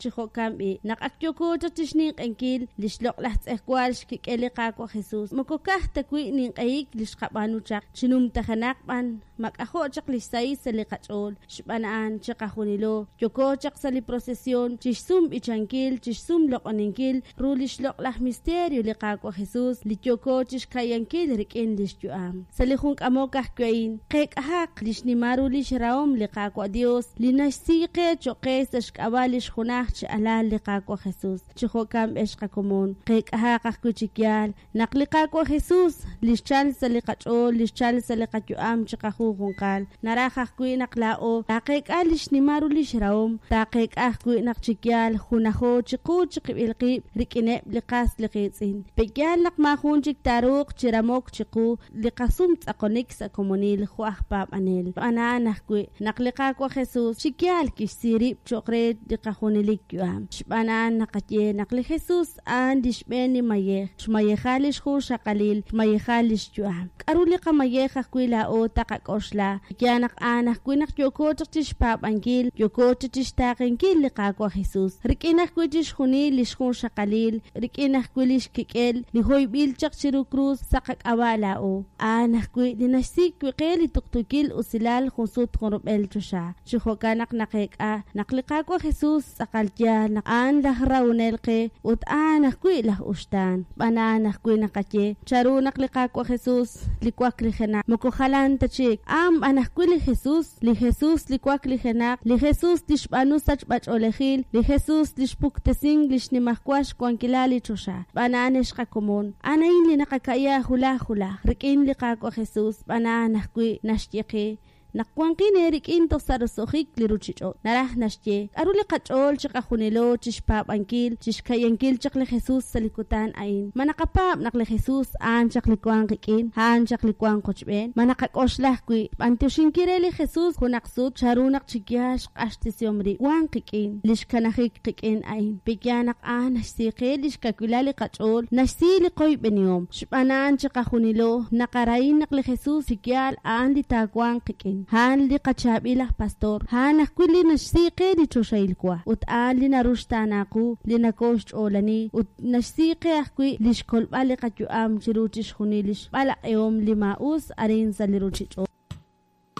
Chi jo'kan b'i', naq ak yooko chaq chi xninq'ehinkil li xloq'laj tz'ejwal xkik'el li Qaawa' Jesus, moko ka'aj ta wi' ninq'ehik li xqab'aanu chaq, chi numtajenaq b'an mak'ajo' chaq li xsahil sa' li qach'ool. Xb'aan a'an, chiqajunilo yooko chaq sa' li procesión chi xsum b'ichankil, chi xsum loq'oninkil ru li xloq'laj misterio li Qaawa' Jesus li yooko chi xka'yankil rik'in li xyu'am. Sa' li jun k'amok ajwi' a'in, qeek'ahaq li xnimal ru lix rahom li Qaawa' Dios li naxsi qe choq' qe sa' xk'ab'a' lix junaj chi alal li Qaawa' Jesus. Chi jo'kan ex qakomon, qeek'ahaq ajwi' chi yaal naq li Qaawa' Jesus, li xchal sa' li qach'ool, li xchal sa' li qayu'am chiqajunjunqal, naraj ajwi' naq laa'o taaqeek'a li xnimal ru lix rahom, taaqeek'a ajwi' naq chi yaal junajo chiqu chiqib'il qib' rik'ineb' li qas li qiitz'in. Pe'yaal naq maajun chik taaruuq chi ramok chiqu li qasum tz'aqonik sa' komonil jo' aj paab'anel. Xb'aan a'an ajwi' naq li Qaawa' Jesus chi yaal kixsi rib' cho'q re li qajunelik yu'am. Xb'aan a'an naqaye naq li Jesus a'an li xb'een li mayej, xmayeja li xjunxaqalil, xmayeja li xyu'am. K'aru li qamayej ajwi' laa'o taqak'oxla? Yaal naq a'an ajwi' naq yooko chaq chi xpaab'ankil, yooko chaq chi xtaaqenkil li Qaawa' Jesus, rik'in ajwi' chixjunil li xjunxaqalil, rik'in ajwi' li xkik'el li hoyb'il chaq chiru krus sa' qak'ab'a' laa'o. A'an ajwi' li naxsik' wi' qe li tuqtuukil usilal junsut junrub'el choxa. Chi jo'kan naq naqeek'a naq li Qaawa' Jesus tz'aqal yaal naq a'an laj rahonel qe ut a'an ajwi' laj uxtaan. Xb'aan a'an ajwi' naqaye chanru naq li Qaawa' Jesus li waklijenaq moko jalan ta chik, a'an b'an ajwi' li Jesus, li Jesus li waklijenaq, li Jesus li xb'aanu sachb'a-ch'oolejil, li Jesus li xpuktesink li xnimajwal xwankilal li choxa. Xb'aan a'an ex qakomon, a'an a'in li naqaka'ya hulaj hulaj rik'in li Qaawa' Jesus, xb'aan a'an ajwi' naxye qe Naq wanqin eerik'in toj sa' roso'jik li ruuchich'och'. Naraj naxye, k'aru li qach'ool chiqajunilo chi xpaab'ankil, chi xka'yankil chaq li Jesus sa' li kutan a'in? Ma naqapaab' naq li Jesus a'an chaq li wank qik'in, a'an chaq li wank qochb'een? Ma naqak'oxla ajwi' xb'anyoxinkil re li Jesus junaq sut chanru naq chi yaal xq'axtesihom rib' wank qik'in, li xkanajik qik'in a'in? Pe'yaal naq a'an naxsi qe li xkawilal li qach'ool, naxsi li qoyb'enihom? Xb'aan a'an chiqajunilo naqarahi naq li Jesus chi yaal a'an li taawanq qik'in. A'an li qachaab'il aj pastor, a'an ajwi' li naxsi qe li choxahil wa, ut a'an li naruxtaana qu, li nokooxch'oolani, ut naxsi qe ajwi' li xkolb'al li qayu'am chiru chixjunil li xb'alaq'ihom li maa'us arin sa' li ruuchich'och'.